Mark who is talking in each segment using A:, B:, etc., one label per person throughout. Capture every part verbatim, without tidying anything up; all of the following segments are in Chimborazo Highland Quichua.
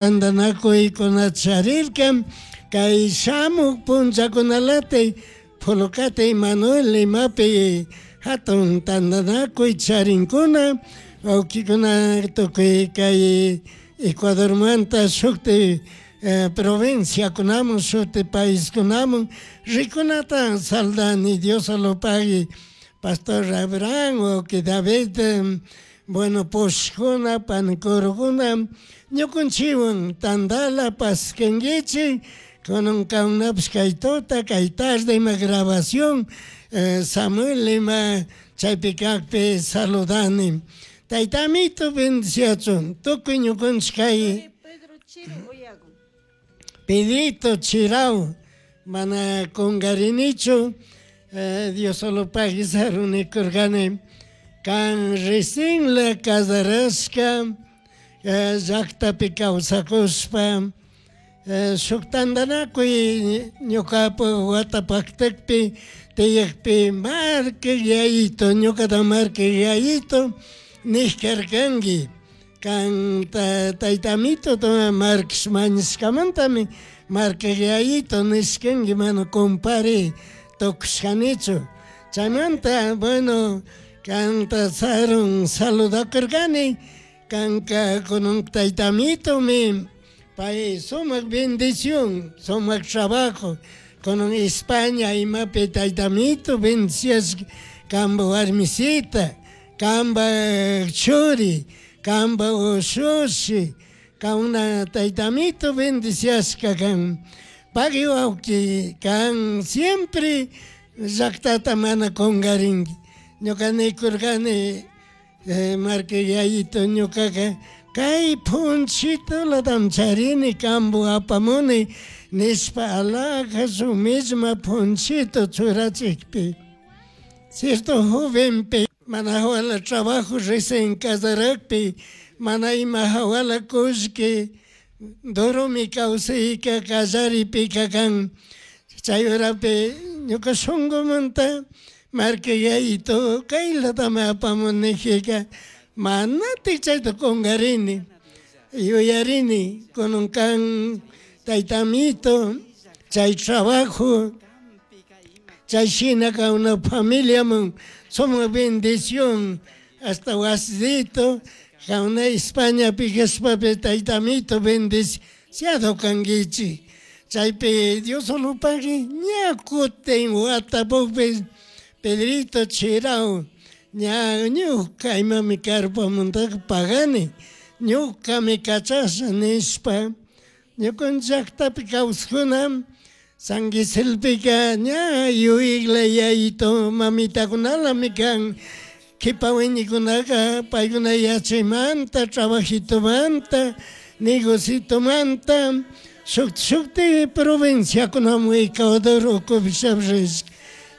A: Tantanakuykuna charirka kay shamuk punllakunalati Pholocate Manuel Limapi hatun tantanakuy charinkuna wawkikuna tukuy kay Ecuadormanta shukti provinciakunamun shuti paiskunamun rikunata saldani Diosolopagui Pastor Abraham wawki David bueno pushkuna panikurukuna ñukunchikwan tantala paskankichik kunan kankunapish kay tuta kay tarde ima grabación Samuel ima chaypi kakpi saludani tayta amito bendiciachun tukuy ñukunchik kay
B: Pedro Chiro Uyagun.
A: Pedrito Chirao mana kunkarinichu Diosolopagui sarunikurkani kan recién casarashka llaktapi kawsakushpa shuk tantanakuy ñukapuk wata paktakpi tiyakpi marka yayito ñukata marka yayito nishkarkanki kan tayta amito markash mañashkamantami marka yayito nishkanki mana compare tukushkanichu chaymanta bueno kanta sarun saludakurkani kanka kunan tayta amitomi pay sumak bendición sumak trabajo kunan España imapi tayta amito bendiciashka kanpak warmisita kanpak churi kanpak ushushi kauna tayta amito bendiciashka kan pagui wawki kan siempre llaktata mana kunkarinki ñuka nikurkani marka yayito ñukaka kay punchitulatam charini kanpuk apamuni nishpa alhaja shuk misma punchito churachikpi cierto jovenpi mana hawala trabajo recién casarakpi mana ima hawala kullki duromi kawsayka kallaripika kan chay horapi ñuka shunkumanta marka yayito kaylatami apamuni nijika manatik chayta kunkarini yuyarini kunan kan tayta amito chay trabajo chay shina una familiaman sumak bendición hasta wasito kauna Españapi kashpapi tayta amito bendiciado kankichik chaypi Diosolopagui ña kutin watapukpi Pedrito Chirao ña ñuka imami carpamantaka pagani ñukami kachasha nishpa ñukanchik llaktapi kawsakuna San Quisilpika ña yuyakla yayito mamitakunalami kan kipa wiñikunaka paykuna yachaymanta trabajitomanta negocitomanta shuk shukti provinciakunamun Ecuador ukupi rishka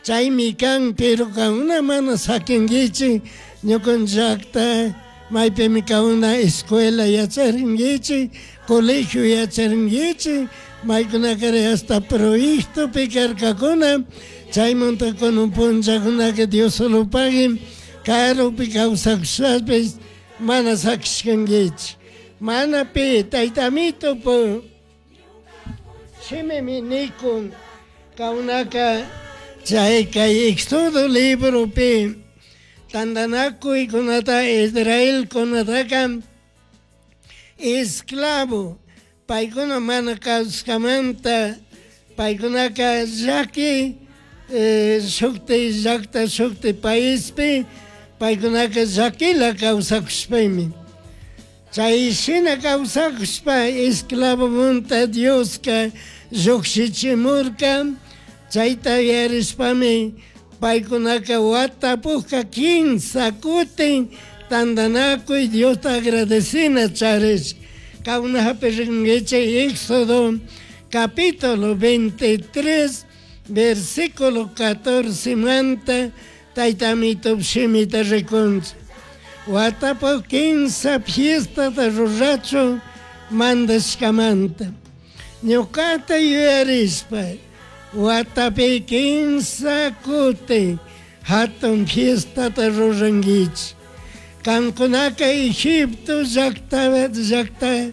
A: chaymi kan pero kankuna mana sakinkichik ñukanchik llakta maypimi kankuna escuela yacharinkichik colegio yacharinkichik maykunakari hasta proyectopi karkakuna chaymanta kunan punllakunaka Diosolopagui karupi kawsakushpapish mana sakishkankichik mana pi tayta amitopu shimimi nikun kankunaka chay kay Éxodo libropi tantanakuykunata Israelkunataka esclavo paykuna mana kawskamanta paykunaka llaki shukti llakta shukti paispi paykunaka llakila kawsakushpaymi chay shina kawsakushpa esclavomunta Dioska llukshichimurka chayta yarishpami paykunaka watapukka kinsa kutin tantanakuy Diosta agradecina charish kawnapi rinkichik Éxodo capítulo veintitrés versículo catorce manta tayta amito shimita rikunchik watapuk kinsa fiestata rurachun mandashkamanta ñukata yuyarishpa watapi kinsa kutin hatun fiestata rurankichik kankunaka Egipto llakta llakta